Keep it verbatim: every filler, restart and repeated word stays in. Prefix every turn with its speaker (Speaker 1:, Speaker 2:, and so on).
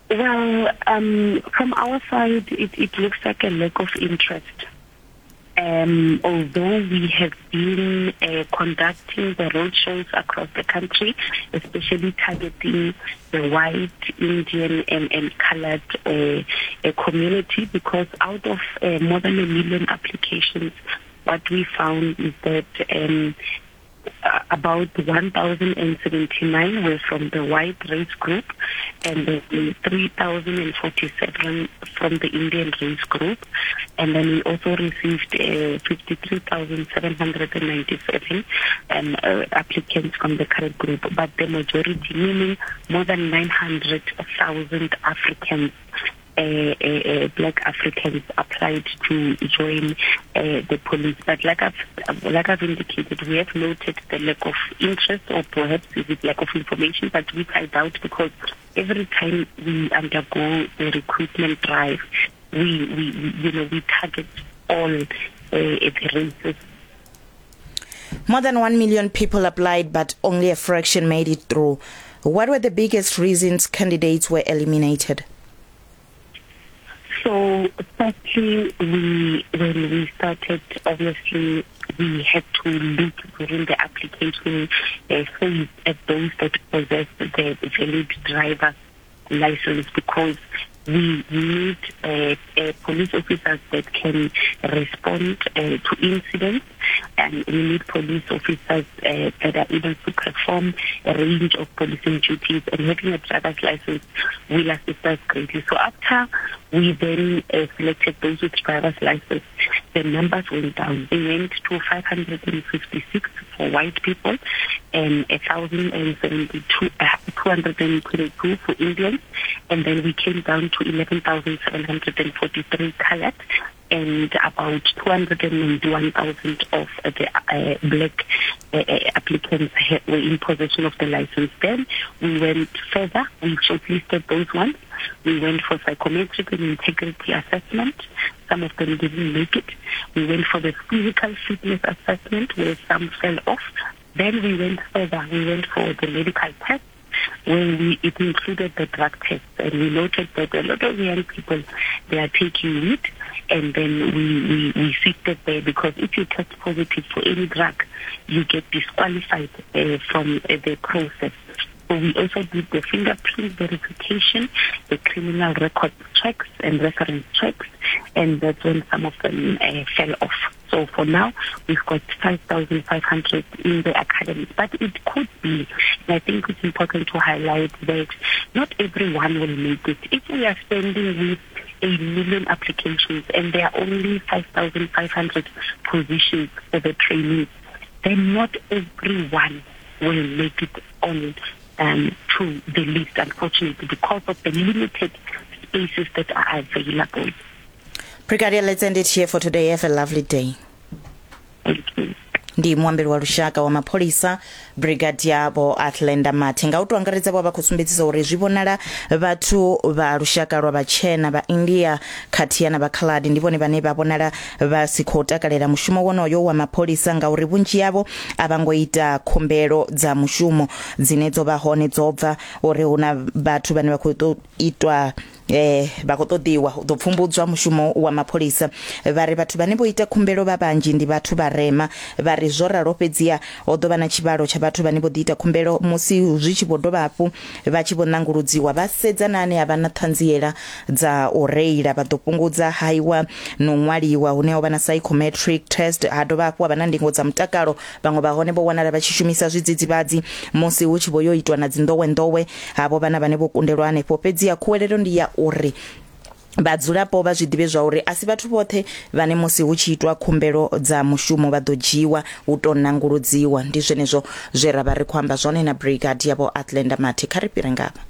Speaker 1: Well, um, from our side, it, it looks like a lack of interest. Um, although we have been uh, conducting the roadshows across the country, especially targeting the white, Indian, and, and colored uh, uh, community, because out of uh, more than a million applications, what we found is that um, about one thousand seventy-nine were from the white race group and then three thousand forty-seven from the Indian race group. And then we also received uh, fifty-three thousand seven hundred ninety-seven um, uh, applicants from the colored group. But the majority, meaning more than nine hundred thousand Africans, Uh, uh, uh, black Africans applied to join uh, the police. But like I've, like I've indicated, we have noted the lack of interest, or perhaps is it lack of information, but which I doubt, because every time we undergo the recruitment drive, we, we, we you know, we target all uh, the races.
Speaker 2: More than one million people applied, but only a fraction made it through. What were the biggest reasons candidates were eliminated?
Speaker 1: So, firstly, we, when we started, obviously, we had to look during the application uh, phase at those that possess the valid driver's license, because we need uh, uh, police officers that can respond uh, to incidents, and we need police officers uh, that are able to perform a range of policing duties, and having a driver's license will assist us greatly. So after we then uh, selected those with driver's license, the numbers went down. They went to five hundred fifty-six for white people and one thousand seventy-two, uh, two hundred twenty-two for Indians, and then we came down to eleven thousand seven hundred forty-three colored and about two hundred ninety-one thousand of the uh, black uh, applicants were in possession of the license. Then we went further. We shortlisted those ones. We went for psychometric and integrity assessment. Some of them didn't make it. We went for the physical fitness assessment, where some fell off. Then we went further. We went for the medical test, where we, it included the drug test. And we noted that a lot of young people, they are taking weed, and then we, we, we sifted there, because if you test positive for any drug, you get disqualified uh, from uh, the process. So we also did the fingerprint verification, the criminal record checks and reference checks, and that's when some of them uh, fell off. So for now, we've got five thousand five hundred in the academy. But it could be, and I think it's important to highlight that not everyone will make it. If we are standing with a million applications and there are only five thousand five hundred positions for the trainees, then not everyone will make it on um, to the list, unfortunately, because of the limited spaces that are available.
Speaker 2: Brigadier, let's end it here for today. Have a lovely day.
Speaker 1: Thank you.
Speaker 2: Ndi muambeli wa lushaka wa mapholisa Brigadier Vho Athlenda Mathe. Nga u to angaredza vho vha khou sumbedzisa uri zwi vhonala vhathu vha lushaka lwa vhatshena vha India khathihi na vha Khaladi ndi vhone vhane vha vhonala vha si khou takalela mushumo wonoyo wa mapholisa, ngauri vhunzhi yavho a vha ngo ita khumbelo dza mushumo dzine dzo vha hone dzo bva uri hu na vhathu vhane vha khou tou itwa eh vha khou ṱoḓiwa u ḓo pfumbudzwa mushumo wa mapholisa. Vha ri vhathu vhane vho ita khumbelo vha vhanzhi ndi vhathu vharema. Vha ri zwo ralo fhedziha ho ḓo vha na tshivhalo tsha vhathu vhane vho ḓi ita khumbelo musi zwi tshi vho dovha hafhu vha tshi vho nanguludziwa vha sedza na ane a vha na ṱhanziela dza u reila, vha ḓo fhungudza haiwa no ṅwaliwa hune ho vha na psychometric test, ha dovha hafhu ha vha na ndingo dza mutakalo. Vhaṅwe vha hone vho wanala vha tshi shumisa zwidzidzivhadzi musi hu tshi vho yo itwa na dzinḓowenḓowe havho vhana vhane vho kundelwa hanefho. Fhedziha khuwelelo ndi ya uri vhadzulapo vha zwi ḓivhe zwa uri a si vhathu vhoṱhe vhane musi hu tshi itwa khumbelo dza mushumo vha ḓo dzhiwa hu to nanguludziwa. Ndi zwenezwo zwe ra vha ri khou amba zwone na Brigadier Vho Athlenda Mathe. Kha ri fhire ngavha.